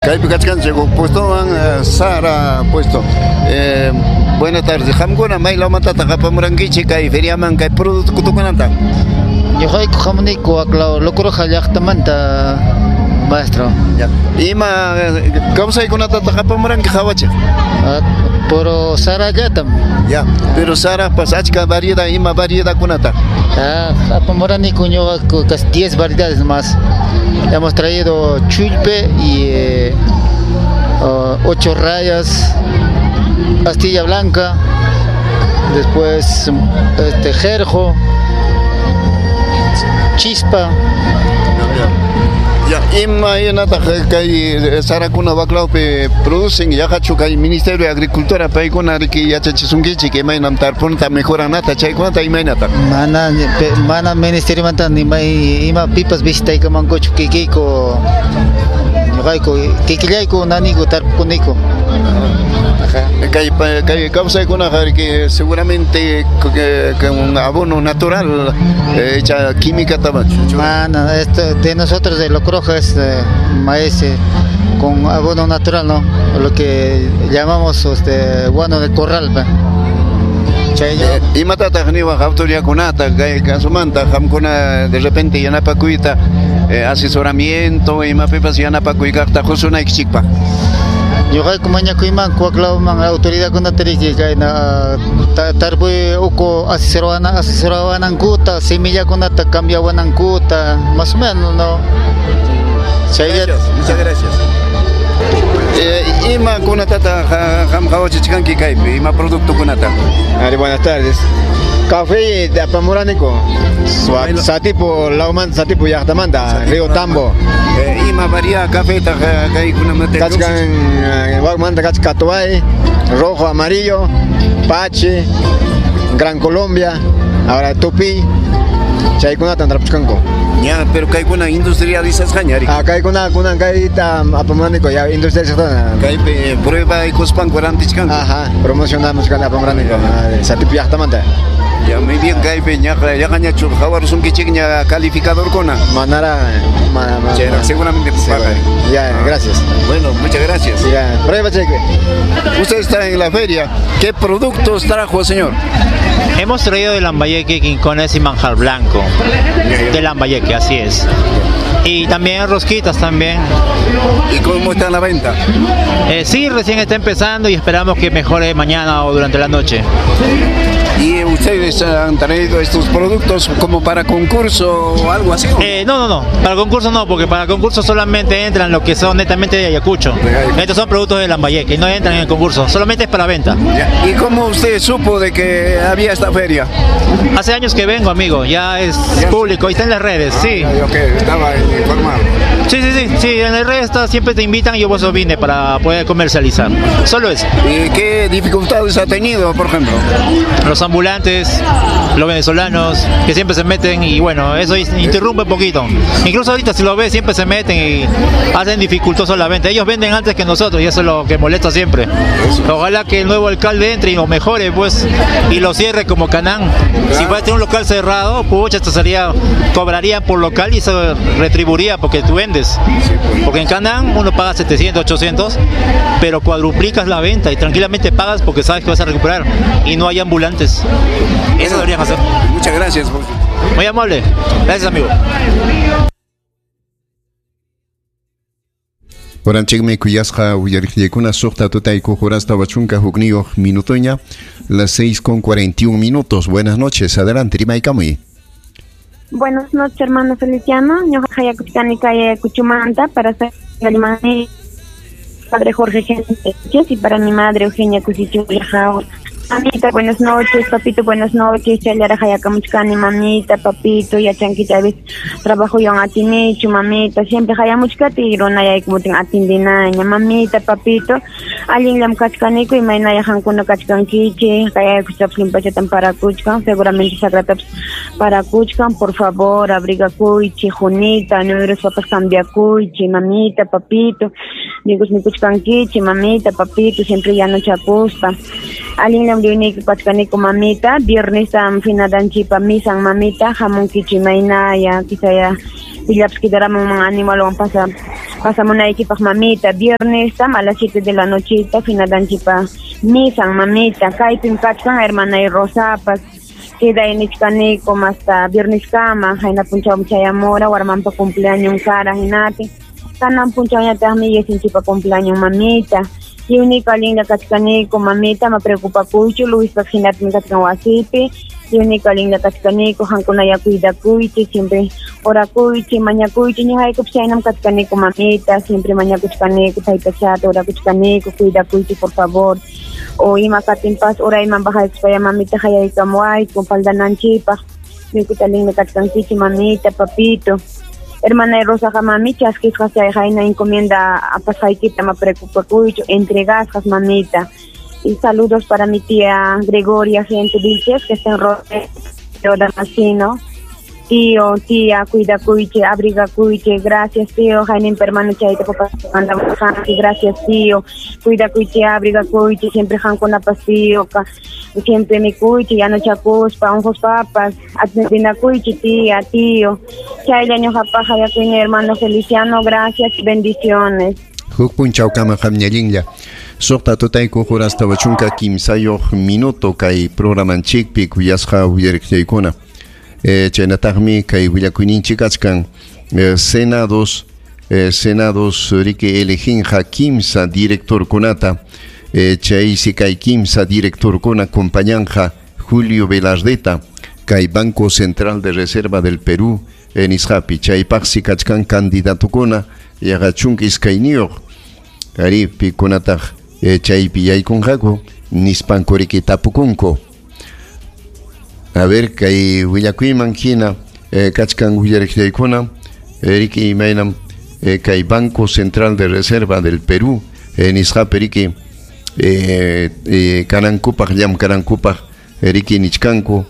Kaypi kachkanchik huk puestowan, Sara puesto. Buenas tardes. Qamkuna maylawmantataq apamurankichik kay feriaman kay productokunata? Ñuqayku hamuniku waklaw Locoroja llaqtamanta, maestro. Ya. Ima kawsaykunatataq apamuranki qawachiq? Puro sarallatam. Ya, pero sarapas achka variedad, ima variedadkunata? Apamuraniku ñuqaku casi 10 variedades más. Hemos traído chulpe y 8 rayas, pastilla blanca, después jerjo, chispa. Ya, imaynataq kay sarakuna waklawpi producen yaqachu kay Ministerio de Agricultura paykuna riki yachachisunkichik imaynam tarpunata mejoranata chaykunata imaynataq? Mana ministeriomanta ni may ima pipas visitaykamankuchu kikiyku ñuqayku kikillayku naniku tarpukuniku. Kay kawsaykunaqa riki seguramente con abono natural hecha química tabacho. Mana, esto de nosotros de Locoroja es maíz con abono natural, ¿no? Lo que llamamos guano de corral. Imatataq niwaq autoridadkunata kay kasumanta qamkuna de repente yanapakuyta asesoramiento imapipas yanapakuykaqta qusunaykichikpaq? Ñuqayku mañakuymanku waklawman autoridadkunata riki kayna tarpuy uku asesorawanankuta, semillakunata cambiawanankuta, más o menos, ¿no? Gracias, muchas gracias. Ima kunatataq qam qawachichkanki kaypi, ima productokunata? Ari, buenas tardes. Café de apamuraniko, Satipo, lawmanta, Satipo llaqtamanta, Río Tambo. Ima variedad café kaykunamanta? Kachkan, wakmanta kachkan Catuay, rojo, amarillo, Pache, Gran Colombia, ahora Tupi, chaykunata tarpuchkanku. Ya, pero kaykuna industrializasqaña ari. Kaykuna kunan kayta apamuraniko ya industrializasqana. Kaypi prueba ikuspanku rantichkanku. Ajá, promocionamos kan apamuraniko, Satipo llaqtamanta. Ya, muy bien, kaypi yaqañachu qawarusunkichikña calificadorkuna. Manara, Chayra, seguramente paga. Ya, gracias. Bueno, muchas gracias. Ya, prueba cheque. Usted está en la feria. ¿Qué productos trajo, señor? Hemos traído de Lambayeque, quincones y manjar blanco. De Lambayeque, así es. Y también rosquitas también. ¿Y cómo está la venta? Sí, recién está empezando y esperamos que mejore mañana o durante la noche. ¿Y ustedes han traído estos productos como para concurso o algo así? No. Para concurso no, porque para concurso solamente entran los que son netamente de Ayacucho. Estos son productos de Lambayeque y no entran en el concurso, solamente es para venta. ¿Y cómo usted supo de que había esta feria? Hace años que vengo, amigo, ya es público y está en las redes, sí. Ok, estaba informado. Sí, en las redes está, siempre te invitan y yo por eso vine para poder comercializar. Solo eso. ¿Y qué dificultades ha tenido, por ejemplo? Los ambulantes, los venezolanos, que siempre se meten y bueno, eso interrumpe un poquito. Incluso ahorita si lo ves, siempre se meten y hacen dificultoso la venta. Ellos venden antes que nosotros y eso es lo que molesta siempre. Ojalá que el nuevo alcalde entre y lo mejore, pues, y lo cierre como Canán. Si fuera a tener un local cerrado, pucha, esto sería, cobraría por local y eso retribuiría porque tú vendes. Porque en Canán uno paga 700, 800, pero cuadruplicas la venta y tranquilamente pagas porque sabes que vas a recuperar y no hay ambulantes. Eso deberían hacer. Muchas gracias. Muy amable. Gracias, amigo. Oranchikmi kuyasqa uyariqllaykuna suqta tutayku horasta wachunka hukniyuq minutoña, las 6:41. Buenas noches, adelante, rimaykamuy. Buenas noches, hermano Feliciano. Ñuqa hayakuchkani kay Ayacuchumanta para ser padre Jorge Sánchez y para mi madre Eugenia Cusichula. Mamita, buenas noches, papito, buenas noches. Challara hayakamuchkani, mamita, papito, yachanki a veces trabajo yo en atinichu, mamita, siempre hayamuchkati, runayaykutin atindinaña, mamita, papito, allinllam kachkaniku, imaynaya hankuna kachkankichik, kayaykuchapas limpachatan parakuchkan, seguramente sagratapas parakuchkan, por favor, abrigakuychi, junita, nuyuruspapas cambiakuychi, mamita, papito, digus mikuchkankichik, mamita, papito, siempre yanochakuspa. Allinllam riuniyku kachkaniku, mamita, viernes finadanchipa misan, mamita, hamunkichi maynaya, quizaya Pillapas quedaramunman animalwan pasamunaykipaq mamita. Viernes a las 7 de la nochita finadanchipa misan mamita. Kaypim kachkan hermana y Rosapas. Queda en Ichkanico hasta viernes kama, hayna punchaw chayamora, warmanpa cumpleaños cara hinati. Kanan punchaw ñataqmi yesinchipa cumpleaños mamita. Y única linda kachkanico mamita, ma preocupa kuychu, Luispa hinatmi kachkan wasipi. Y única linda kachkanico, hankunaya cuidakuychi, siempre orakuychi, mañakuychi, ñuqaykup chaynam kachkanico mamita, siempre mañakuchkanico, taytachata, orakuchkanico, cuidakuychi por favor. O ima katinpas urayman bajaykuspaya mamita hayaykamuwayku paldananchikpaq ñuqaykuta linda kachkankichik mamita, papito. Hermana Rosaqa mami chaskisqa chay hayna encomienda apasqaykita ma preocupakuychu, entregasqas mamita. Y saludos para mi tía Gregoria Gente Vilches, que está en Rodeo Damasino. Tío, tía, cuida cuiche, abriga cuiche, gracias tío, Jaime hermano chayta papá mandamos gracias tío, cuida cuiche, abriga cuiche, siempre jan con la pastío, siempre mi cuiche, ya no chacuspa, ojos papas, atendina cuiche, tía, tío, chayla ñoja paja ya cuiña hermano Feliciano, gracias, bendiciones. Huk punchawkama qamñallinlla. Suqta tutayku hurasta wachunka kimsayuq minuto kay programanchikpi kuyasqa uyariqchaykuna. Chaynataqmi kay willakuyninchik kachkan senados riki eleginqa kimsa directorkunata, chaysi kay kimsa directorkuna acompañanja Julio Velardeta kay Banco Central de Reserva del Perú nisqapi chaypaqsi kachkan candidatukuna yaqa chunka iskayniyuq ari pikunataq chaypi yaykunqaku nispanku riki tapukunku. A ver, kay willakuyman hina kachkan willariqchaykuna riki imaynam kay Banco Central de Reserva del Perú nisqapi riki kanankupaq llamkanankupaq riki nichkanku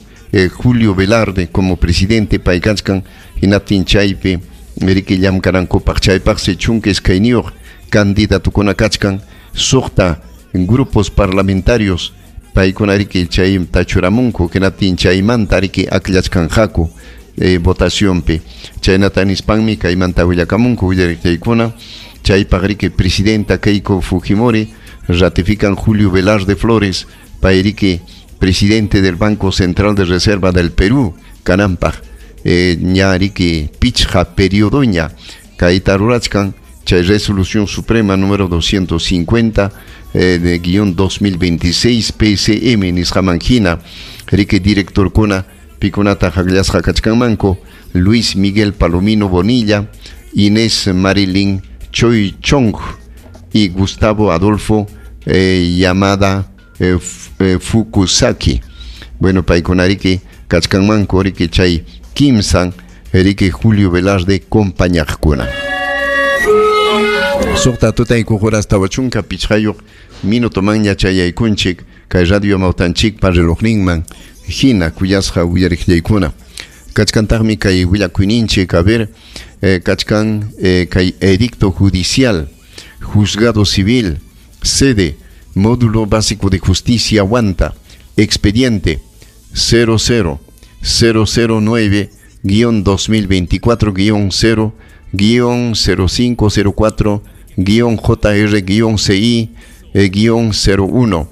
Julio Velarde como presidente pay kachkan hinaptin chaypi riki llamkanankupaq chaypaqsi chunka iskayniyuq candidatukuna kachkan suqta grupos parlamentarios paykuna riki chayta churamunku hinaptin chaymanta riki akllachkanqaku votacionpi chaynata nispanmi kaymanta willakamunku willariqchaykuna chaypaq riki presidenta Keiko Fujimori ratifican Julio Velarde Flores pay riki presidente del Banco Central de Reserva del Perú kananpaq ña riki pichqa periodoña kayta rurachkan chay resolución suprema número 250 de guión 2026 PCM nisqaman hina riki directorkuna pikunata haqllasqa kachkanmanku Luis Miguel Palomino Bonilla, Inés Marilyn Choi Chong y Gustavo Adolfo Yamada Fukusaki. Bueno, paykuna riki kachkanmanku riki chay kimsan riki Julio Velarde compañaqkuna. Suqta tutayku horas tawachunka pichqayuq minuto manña chayaykunchik kay radio mawtanchikpa relojninman hina kuyasqa uyariqllaykuna. Kachkantaqmi kay willakuyninchik, a ver, kachkan kay edicto judicial, juzgado civil, sede, módulo básico de justicia Huanta, expediente 00009-2024-0 -0504-JR-CI-01.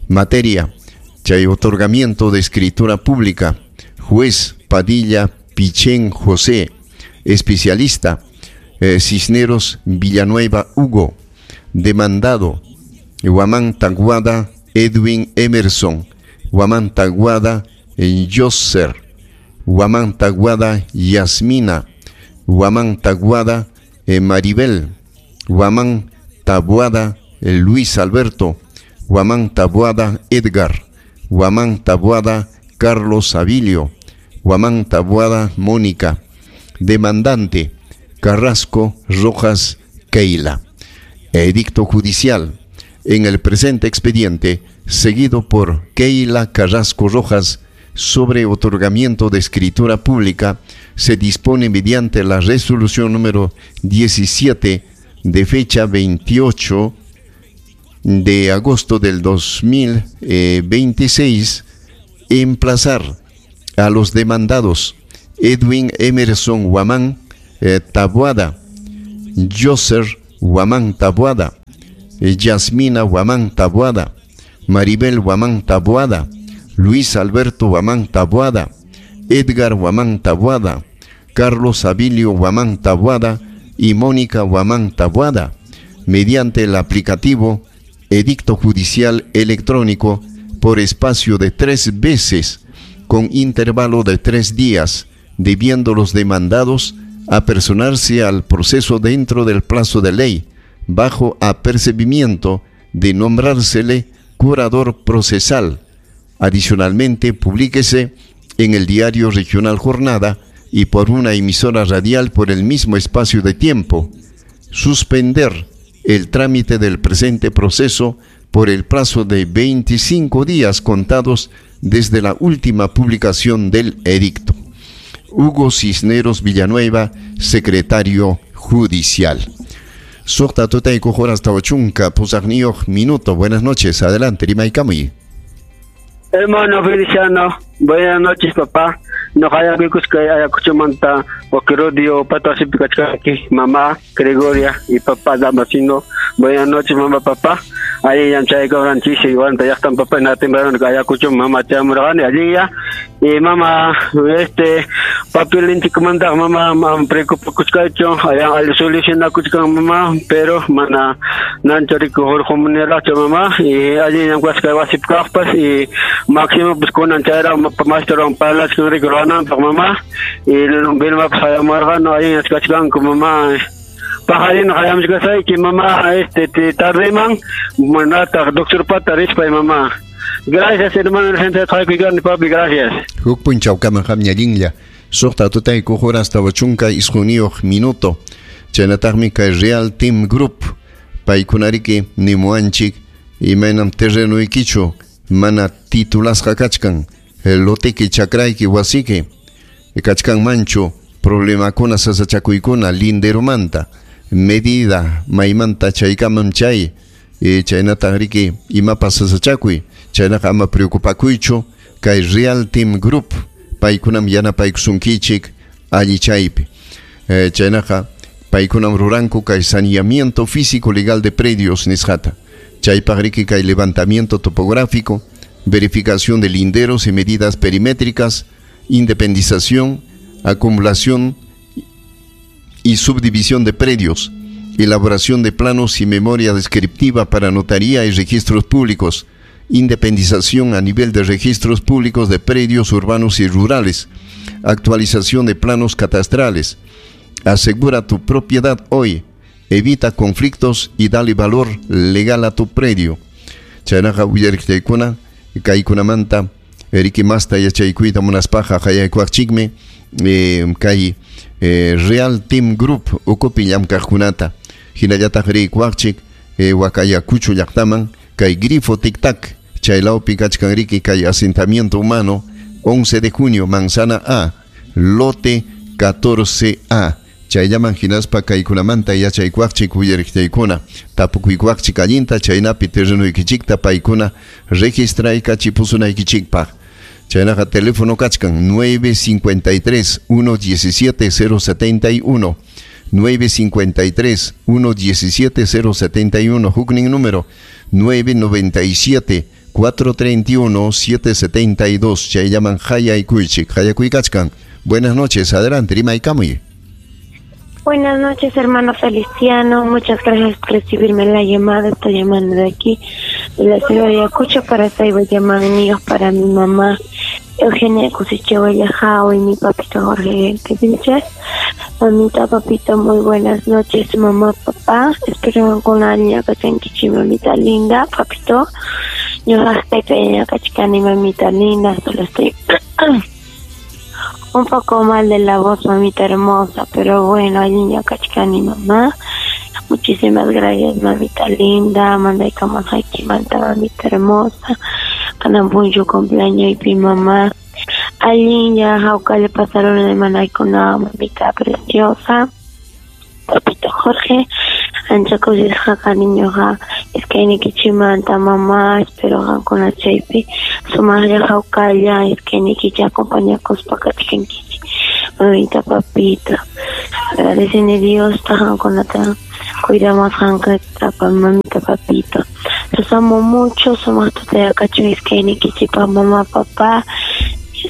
Materia, chay otorgamiento de escritura pública, juez Padilla Pichén José, especialista, Cisneros Villanueva Hugo, demandado, Huamán Taguada Edwin Emerson, Huamán Taguada Yosser, Huamán Taguada Yasmina, Huamán Taguada Maribel, Huamán Tabuada Luis Alberto, Huamán Tabuada Edgar, Huamán Tabuada Carlos Abilio, Huamán Tabuada Mónica, demandante Carrasco Rojas Keila. Edicto judicial. En el presente expediente, seguido por Keila Carrasco Rojas, sobre otorgamiento de escritura pública, se dispone mediante la resolución número 17 de fecha 28 de agosto del 2026, emplazar a los demandados Edwin Emerson Huamán, Tabuada, Joser Guamán Tabuada, Yasmina Guamán Tabuada, Maribel Guamán Tabuada, Luis Alberto Guamán Tabuada, Edgar Guamán Tabuada, Carlos Abilio Guamán Tabuada y Mónica Guamán Tabuada, mediante el aplicativo Edicto Judicial Electrónico por espacio de 3 veces, con intervalo de 3 días, debiendo los demandados apersonarse al proceso dentro del plazo de ley, bajo apercibimiento de nombrársele curador procesal. Adicionalmente, publíquese en el diario regional Jornada y por una emisora radial por el mismo espacio de tiempo. Suspender el trámite del presente proceso por el plazo de 25 días contados desde la última publicación del edicto. Hugo Cisneros Villanueva, secretario judicial. Suqta tutayku horas tawachunka pusaqniyuq minuto. Buenas noches, adelante, Rimaykamuy. Hermano Feliciano, buenas noches, papá. No hayakukusqa Ayacuchomanta, Oquerodio, Pato mamá Gregoria y papá Damasino. Buenas noches, mamá, papá. Ahí ya chay cobran chisi, igual ya están papá en la temprano que Ayacucho, mamá chamurani allí ya. Y mamá, papel inchi comanda, mamá, mamá, preocupa cuchcacho, allá al soluciona cuchcan mamá, pero mana nanchorico jorjo muneracho mamá, y allí ya cuasca wasip capas y máximo pues con anchara maestro palas con rico mamá, y vilma pues allá margano ahí en Escachcán con mamá. Pajarín, hayam kasay que mamá, te tarde man, manata, doctor Pata, rispa y mamá. Gracias, hermano, gente de Tlacuicán, papi, gracias. Huk punchaw kaman hamña llinlla. Suqta tutayku horas tawachunka isquniyuq minuto. Chaynataqmi kay Real Team Group. Paykunariki nimuanchik imaynam terrenuykichu mana titulasqa kachkan. Loteki chakrayki wasiki kachkan manchu problemakuna sasachakuykuna linderomanta medida maymanta chaykamam chay chaynataqriki imapas sasachakuy chaynaqa ama preocupakuychu kay Real Team Group paykunam yanapaykusunkichik alli chaypi chaynaqa paykunam ruranku kay saneamiento físico legal de predios nisqata chaypaqriki kay levantamiento topográfico, verificación de linderos y medidas perimétricas, independización, acumulación y subdivisión de predios, elaboración de planos y memoria descriptiva para notaría y registros públicos, independización a nivel de registros públicos de predios urbanos y rurales, actualización de planos catastrales. Asegura tu propiedad hoy, evita conflictos y dale valor legal a tu predio. Chaynaqa uyariqchaykuna kaykunamanta riki masta yachaykuyta munaspaqa hayaykuwaqchikmi kay Real Team Group ukupi llamkaqkunata hinallataq riykuwaqchik Wakayakuchu llaqtaman kay Grifo Tic Tac chaylawpi kachkan riki kay asentamiento humano 11 de junio Manzana A lote 14A chayllaman hinaspa kaykunamanta yachaykuwaqchik uyariqchaykuna tapukuykuwaqchik allinta chaynapi terrenuykichikta paykuna registraykachipusunaykichikpaq. Chaynaqa teléfono kachkan 953 117 071 953 117 071 huknin número 997 431 772 chayllaman hayaykuychik hayakuykachkan. Buenas noches, adelante, rimaykamuy. Buenas noches, hermano Feliciano. Muchas gracias por recibirme la llamada. Estoy llamando de aquí, de la ciudad de Ayacucho, para llamar para mi mamá Eugenia Cusiche Jao y mi papito Jorge Vilches. Mamita, papito, muy buenas noches, mamá, papá. Espero con la niña Kachankichi, mamita linda, papito. Yo estoy pequeña, Kachikani, mamita linda. Solo estoy un poco mal de la voz, mamita hermosa, pero bueno, niña Kachikani, mamá. Muchísimas gracias, mamita linda. Manda manta, mamita hermosa. Kanampuncho cumpleaños y pi mamá. Alinya, jauka le pasaron el con la mamita preciosa. Papito Jorge, ancha kusisqa cariñoqa iskaynikichikmanta mamá, espero qamkuna chaypi sumaqlla hawkalla iskaynikichik acompañakuspa kachkankichik, mamita, papito. Agradecen Dios, qamkunata cuidamusqankata, mamita, papito. Los amo mucho, somos tutayakachun iskaynikichikpa mamá, papá.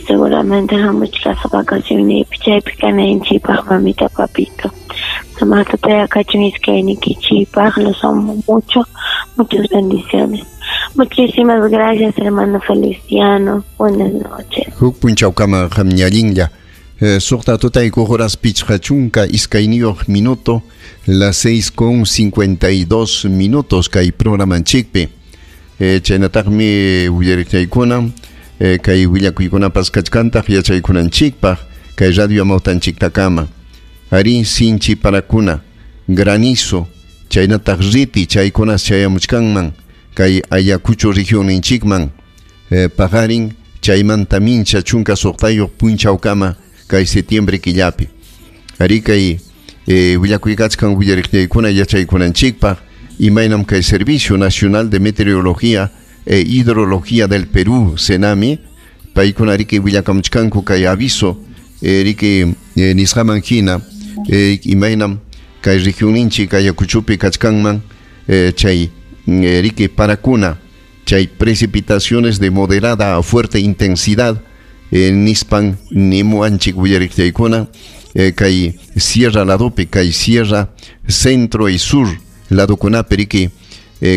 Seguramente hamuchkasqa vacacionniypi chaypi kanayninchikpaq mamita, papito. Sumaq tutayakachun iskaynikichikpaq, los amo mucho, muchas bendiciones. Muchísimas gracias, hermano Feliciano. Buenas noches. Huk punchawkama qam ñallinlla. Suqta tutayku horas pichqa chunka iskayniyuq minuto, las 6:52 minutos kay programanchikpi. Chaynataqmi willariqchaykuna, kay willakuykunapas kachkantaq yachaykunanchikpaq kay radio amawtanchiktakama. Ari sinchi parakuna, granizo, chaynataq riti chaykunas chayamuchkanman kay Ayacucho regionninchikman, paqarin chaymanta mincha chunka suqtayuq punchawkama kay septiembre killapi. Ari kay willakuykachkan willariqchaykuna yachaykunanchikpaq imaynam kay Servicio Nacional de Meteorología e Hidrología del Perú, SENAMI, paykuna riki willakamuchkanku kay aviso riki nisqaman hina, imaynam kay regionninchik Ayacuchopi kachkanman, chay riki parakuna, chay precipitaciones de moderada a fuerte intensidad, nispan nimuanchik willariqchaykuna, kay sierra ladopi, kay sierra centro y sur ladokunapi riki,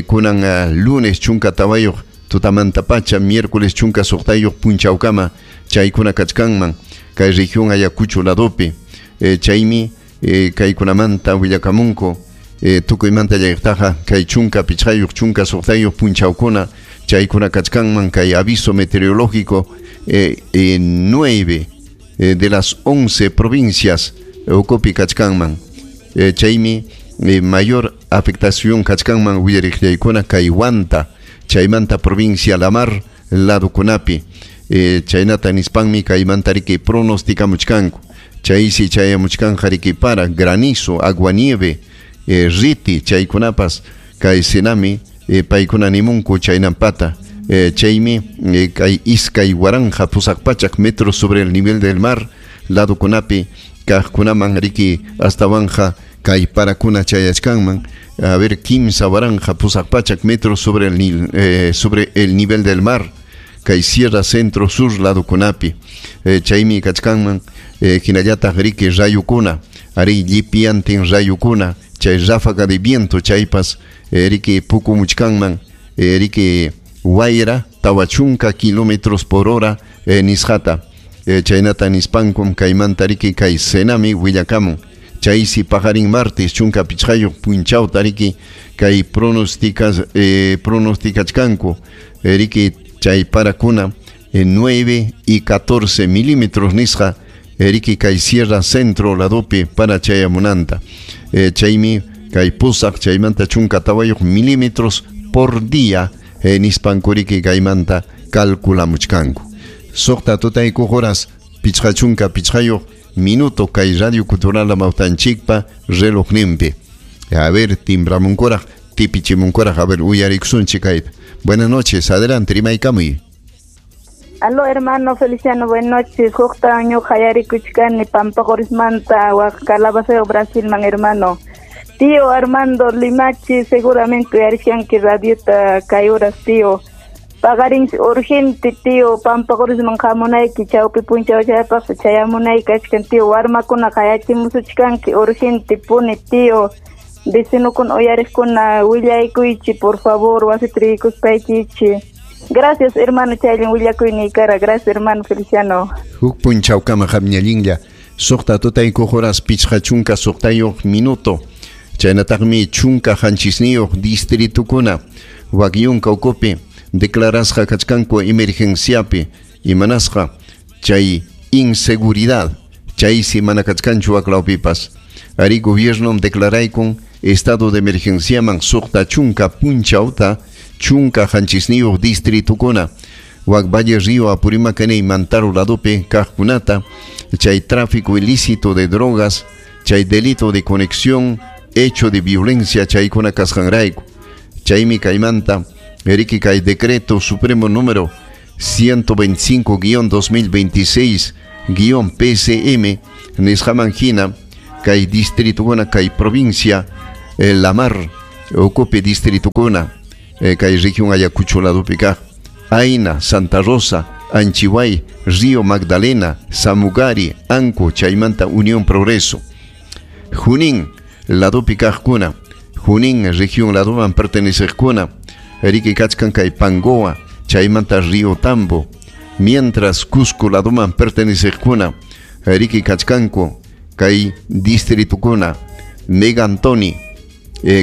kunan lunes chunka tawayuq tutamanta pacha, miércoles chunka suqtayuq punchawkama chaykuna kachkanman kay región Ayacucho ladopi. Chaymi kaykunamanta willakamunku, tukuymanta llaqtaqa kay chunka pichqayuq chunka suqtayuq punchawkuna chaykuna kachkanman kay aviso meteorológico 9 de las 11 provincias ukupi kachkanman. Chaymi mayor afectación kachkanman willariqchaykuna kay Huanta, chaymanta provincia La Mar ladokunapi. Chaynata nispanmi kaymanta riki pronosticamuchkanku. Chaysi chayamuchkanja riki para granizo, aguanieve, riti chaykunapas kay SENAMI, paykuna nimunku chaynampata. Chaymi kay iskay waranqa pusaq pachak metros sobre el nivel del mar ladokunapi kaqkunaman riki astawanja kay parakuna chayachkanman, a ver, kimsa waranqa pusaq pachak metros sobre el nivel del mar kay sierra centro sur ladokunapi. Chaymi kachkanman, hinallataq riki rayukuna, ari llipiantin rayukuna, chay ráfaga de viento chaypas riki pukumuchkanman, riki wayra tawachunka kilómetros por hora nisqata. Chaynata nispankum kaymanta riki kay SENAMI willakamun. Chaysi paqarin martes chunka pichqayuq punchawta riki kay pronosticachkanku riki chay parakuna 9 y 14 milímetros nisqa riki kay sierra centro ladopi para chayamunanta. Chaymi kay pusaq chaymanta chunka tawayuq milímetros por día nispanku riki kaymanta calculamuchkanku. Suqta tutayku horas pichqa chunka pichqayuq minuto kay Radio Cultural Amawtanchikpa relojninpi. A ver, timbramunkuraq, tipichimunkuraq, a ver, uyarikusunchik kayta. Buenas noches, adelante, rimaykamuy. Aló, hermano Feliciano, buenas noches. Hukta ñuqa hayarikuchkani Pampaqurismanta, wak Calabaceo, Brasilman, hermano. Tío Armando Limachi, seguramente uyarishkanki radiota kay horas, tío. Pagarin urgente, tío, Pampaqurisman hamunayki, chawpi punchaw chaypaq chayamunayki kachkan, tío. Warmakuna hayachimusuchkanki urgente puni, tío. Vecinokuna uyariqkuna willaykuychi, por favor, wasita riykuspaykichi. Gracias, hermano, chaylin willakuyniykara. Gracias, hermano Feliciano. Huk punchawkama qamñallinlla. Suqta tutayku horas pichqa chunka suqtayuq minuto. Chaynataqmi chunka qanchisniyuq distritukuna Wakyunka ukupi declarasqa kachkanku emergenciapi imanasqa chay inseguridad chaysi mana kachkanchu waklawpipas. Ari gobierno declaraykun estado de emergenciaman suqta chunka punchawta chunka qanchisniyuq distritukuna wak Valle Río Apurímac y Mantaro ladopi kaqkunata chay tráfico ilícito de drogas, chay delito de conexión, hecho de violencia chaykuna kasqanrayku. Chaymi kaymanta riki kay decreto supremo número 125-2026-PCM nisqaman hina kay distritukuna kay provincia La Mar ukupi distritukuna kay región Ayacucho ladopi kaq Aina, Santa Rosa, Anchihuay, Río Magdalena, Samugari, Anco, chaymanta Unión Progreso. Junín ladopi kaqkuna, Junín región ladoman perteneceqkuna, riki kachkan kay Pangoa, chaymanta Río Tambo. Mientras Cusco ladoman perteneceqkuna, riki kachkanku kay distritukuna, Megantoni,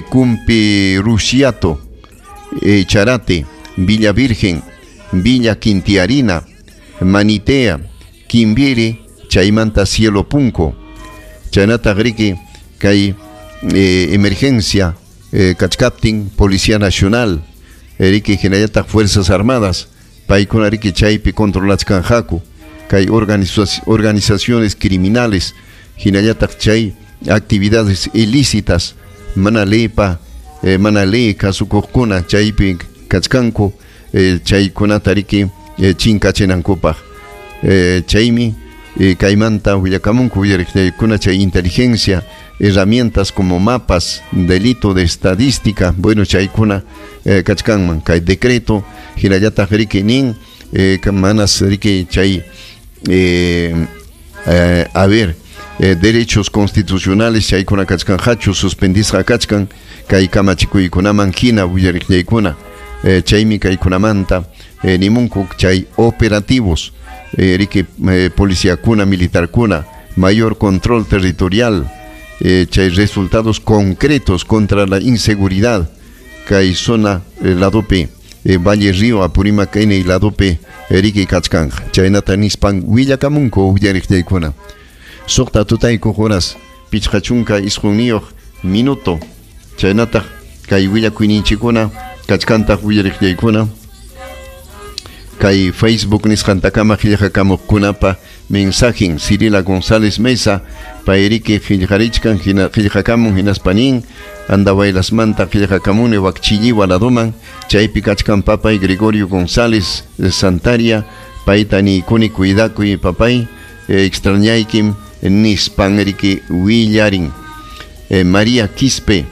Cumpi Rusiato, Charate, Villa Virgen, Villa Quintiarina, Manitea, Quimbiri, chaymanta Cielo Punco. Chaynataq riki kay emergencia kachkaptin Policía Nacional, riki hinallataq Fuerzas Armadas, paykuna riki chaypi controlachkanqaku kay organizaciones criminales, hinallataq chay actividades ilícitas, mana leypa, mana ley kasukuqkuna chaypi kachkanku, chaykunata riki chinkachinankupaq. Chaymi kaymanta willakamunku willariqllaykuna chay inteligencia, herramientas como mapas, delito de estadística, bueno chaykuna kachkanman kay decreto hinallataq riki nin manas riki chay a ver derechos constitucionales chaykuna kachkanqachu suspendisqa kachkan kay kamachikuykunaman hina willariqllaykuna. Chaymi kaykunamanta nimunku chay operativos riki policiakuna militarkuna mayor control territorial, chay resultados concretos contra la inseguridad kay zona ladopi Valle Río Apurímac Ene ladopi riki kachkanja chaynata nispan willakamunku willariqllaykuna. Suqta tutayku horas 59 minuto chaynataq kay willakuyninchikkuna kachkantaq willariqllaykuna kay Facebook nisqantakama qillqakamuqkunapa mensajen Cirila González Mesa payriki qillqarichkan qillqakamun hinaspa nin Andahuaylasmanta qillqakamuni wakchilliwa ladoman chaypi kachkan papay Gregorio González Santaria payta niykuni cuidakuy papay extrañaykim nispan riki willarin. María Quispe,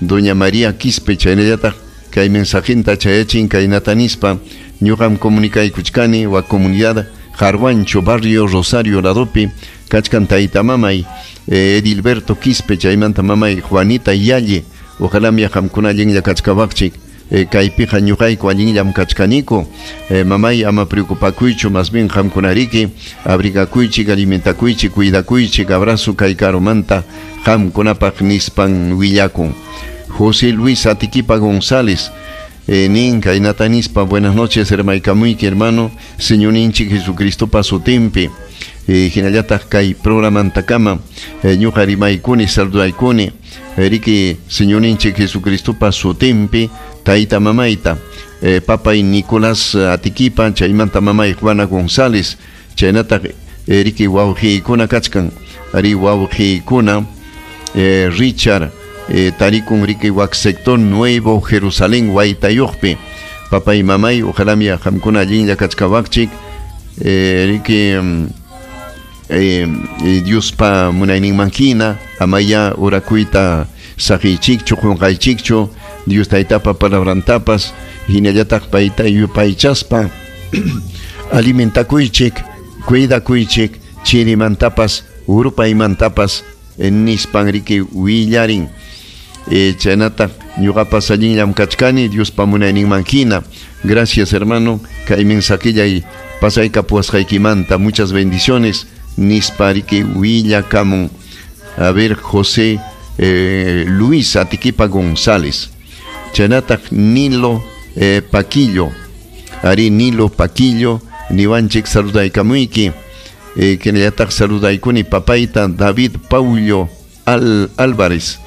doña María Quispe chaynallataq kay mensajinta chayachin kaynata nispa ñuqam comunicaykuchkani wa comunidad Jarwancho barrio Rosario ladopi kachkan tayta mamay Edilberto Quispe chaymanta mamay Juanita Yalle ojalá qamkuna allinlla kachkawaqchik kaypiqa ñuqayku allinllam kachkaniku mamay ama preocupakuychu más bien qamkunariki abrigakuychik alimentakuychik cuidakuychik abrazo kay karumanta qamkunapaq nispan willakun. José Luis Atiquipa González nin kaynata nispa buenas noches hermaykamuyki hermano Señorninchik Jesucristo pasutinpi hinallataq kay programantakama ñuqa rimaykuni saludaykuni riki Señorninchik Jesucristo pasutinpi tayta mamayta papay Nicolás Atiquipa chaymanta mamay Juana González chaynataq riki wawqiykuna kachkan ari wawqiykuna Richard tarikun riki wak sector Nuevo Jerusalén Waytayuqpi papay mamay ojalá mi qamkuna allinlla kachkawaqchik riki Diospa munayninman hina amaya urakuyta saqiychikchu qunqaychikchu Dios taytapa palabrantapas hinallataq payta yupaychaspa alimentakuychik cuidakuychik chirimantapas urpaymantapas nispan riki willarin. Chaynataq ñuqapas allinllam kachkani Diospa munayninman hina. Gracias hermano kay mensajillay pasaykapuwasqaykimanta muchas bendiciones nispa riki willakamun. A ver José Luis Atiquipa González chaynataq Nilo Paquillo ari Nilo Paquillo niwanchik saludaykamuyki kinallataq saludaykuni papayta David Paullo Álvarez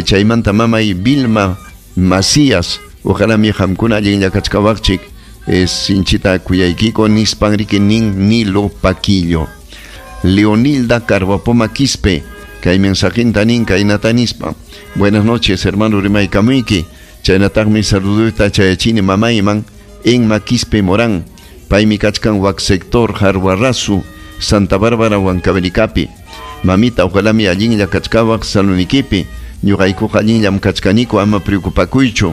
chaymanta mamay Vilma Macías ojalá mi qamkuna allinlla kachkawaqchik sinchita kuyaykiko nispan riki nin Nilo Paquillo. Leonilda Carvapoma Quispe kay mensajinta nin kaynata nispa buenas noches hermano rimaykamuyki chaynataqmi saluduyta chayachini mamayman Enma Quispe Morán paymi kachkan wak sector Jarwarrazu Santa Bárbara Huancavelicapi. Mamita, ojalá mi allinlla kachkawaq salunikipi. Ñuqaykuqa allinllam kachkaniku ama preocupakuychu.